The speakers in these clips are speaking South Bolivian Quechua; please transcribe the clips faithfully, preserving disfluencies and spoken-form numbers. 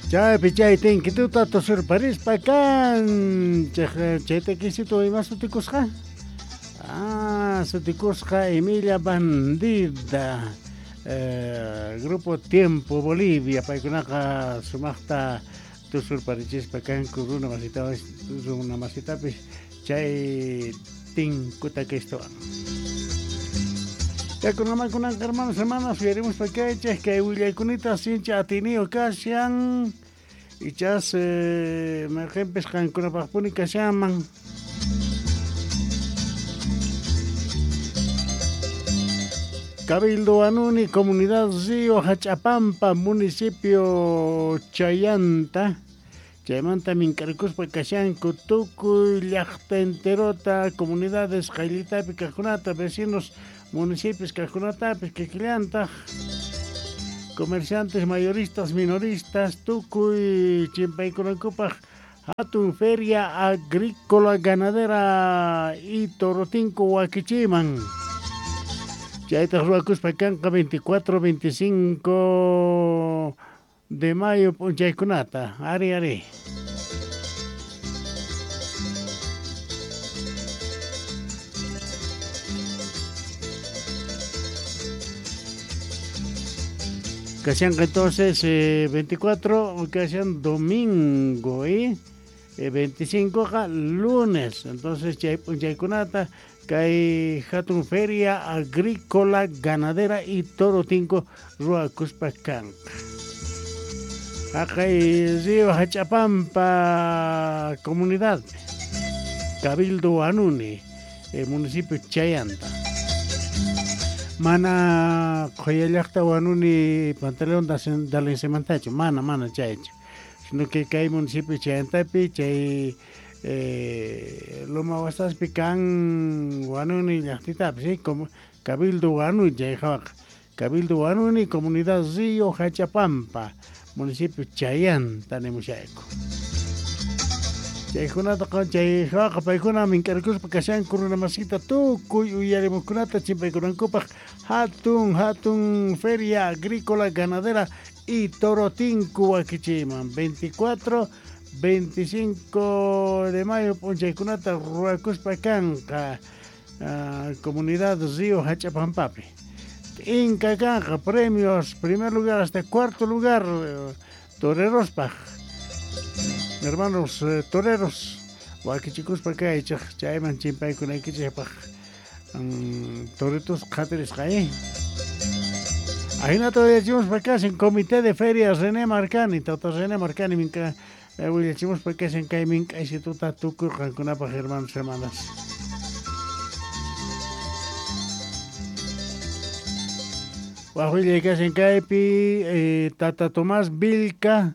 Chaypi chay tinkituta tusurparispa kanchej chay takisitu ima sutikusqa? Ah, sutikusqa Emilia Bandida. Eh, Grupo Tiempo Bolivia paykunaqa sumaqta tusurparichispa kanku runa masitapis runa masitapis chay tinkuta kistuwan. Yakunamankunanqa hermanos hermanas uyarimuspa kaychej kay willaykunita sincha atiniyo kashan ichas eh, mayqinpis qankunapaqpuni kashanman. Cabildo Huanuni, Comunidad Río Hachapampa, municipio Chayanta. Chaymanta mink'arikuspa kashanku tukuy llaqta enterota, comunidades qayllitapi kaqkunata, vecinos municipios kaqkunatapis kikillantaq, comerciantes mayoristas, minoristas, tukuy chimpaykunankupaq hatun feria agrícola ganadera y Torotinku wakichiman. Chaytaq ruwakuspa kanqa veinticuatro, veinticinco de mayo p'unchaykunata. Ari, ari. Kashanqa entonces eh, veinticuatro, kashan domingo, ¿eh? Eh, veinticinco lunes. Entonces chay p'unchaykunata kay hatun feria agrícola ganadera y Torotinko ruwakuspa kanqa. Haqay Río Hachapampa comunidad, Cabildo Huanuni, eh, municipio Chayanta. Mana qhuyallaqta Huanuni Pantaleón Dalensemantachu, mana mana chaychu, sino que kay municipio Chayantapi chay eh, Loma Wasaspi kan Huanuni llaqtitapi, ¿sí? Como Cabildo Huanuni chay hawaqa. Cabildo Huanuni, comunidad Río Hachapampa, municipio Chayanta nimushayku. Chaykunata chay hawaqa paykuna mink'arikuspa kashanku runa masita tukuy uyarimuqkunata chimpaykunankupaq hatun hatun feria agrícola ganadera y Torotinku wakichiman veinticuatro, veinticinco de mayo p'unchaykunata ruwakuspa kanqa uh, comunidad Río Hachapampapi. Inca kanqa premios, primer lugar hasta cuarto lugar, eh, torerospaj. Hermanos eh, toreros, wakichikuspa kaychej chayman chimpaykunaykichejpaj um, toritos qhatirisqa, eh. Ajinata willachimuspa kashan Comité de Ferias René Marcani, tata René Marcani minka eh, willachimuspa kashan kay mink'aysituta tukuy qankunapaj hermanos hermanas. Waj willay kashan kaypi eh, tata Tomás Vilca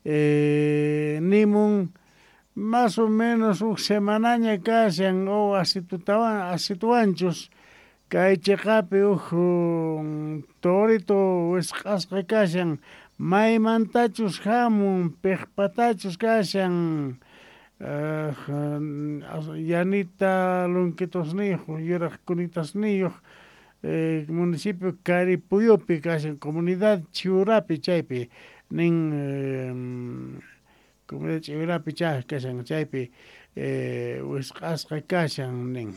eh, nimun más o menos uj semanaña kashan o asitutawan asituwanchus kay chiqapi uj um, torito wisq'asqa kashan maymantachus hamun piqpatachus kashan uh, yanita lunkitusniyuq yuraq kunitasniyuq eh, municipio Caripuyupi kashan comunidad Chiurapi chaypi nin eh, comunidad Chiurapi chay kashan chaypi eh, wisq'asqa kashan nin.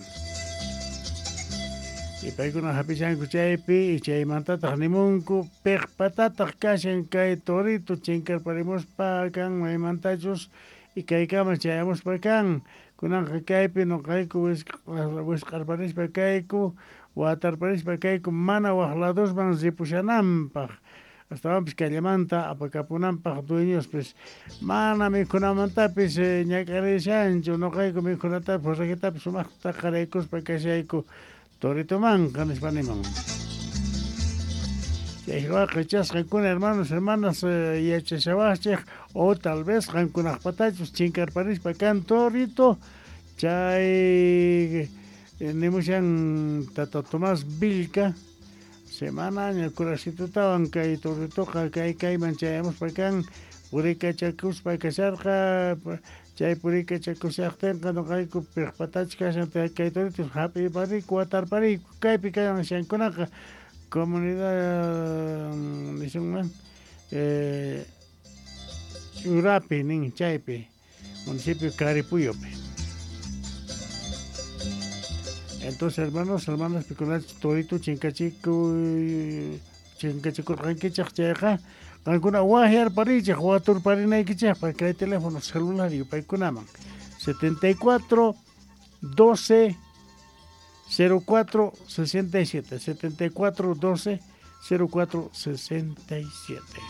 Y paykuna hapishanku chaypi y chaymantataq nimunku piqpatataq kashan kay torito chinkarparimuspa kan maymantachus y kaykama chayamuspa kan kunanqa kaypi nuqayku wisq'arparispa kayku watarparispa kayku mana waq ladosman ripushananpaq astawanpis kallamanta apakapunanpaq dueñospis mana mikhunamantapis eh, ñak'arishanchu nuqayku mikhunatapis forrajitapis sumaqta qaraykuspa kashayku toritomanqa nispa nimun. Chay hawaqa ichasqankuna hermanos hermanas eh, yachashawaqchej o tal vez qankunaqpatachus chinkarparispa kan torito chay eh, nimushan tata Tomás Vilca semanaña kurasitutawan kay toritoqa kay kayman chayamuspa kan purikachakuspa kasharqa chay purikachakushaqtinqa nuqayku piqpatachus kashan kay toritos hap'ipariku watarpariku kaypi kashankunaqa comunidad nisunman eh, Urapi nin chaypi, municipio Caripuyopi. Entonces, hermanos, hermanas, pikunach torito chinkachiku chinkachikurqankichej chayqa qankuna wajyarparichej waturparinaykichejpaq kay teléfono celular yupaykunaman setenta y cuatro doce cero cuatro sesenta y siete, setenta y cuatro doce cero cuatro sesenta y siete.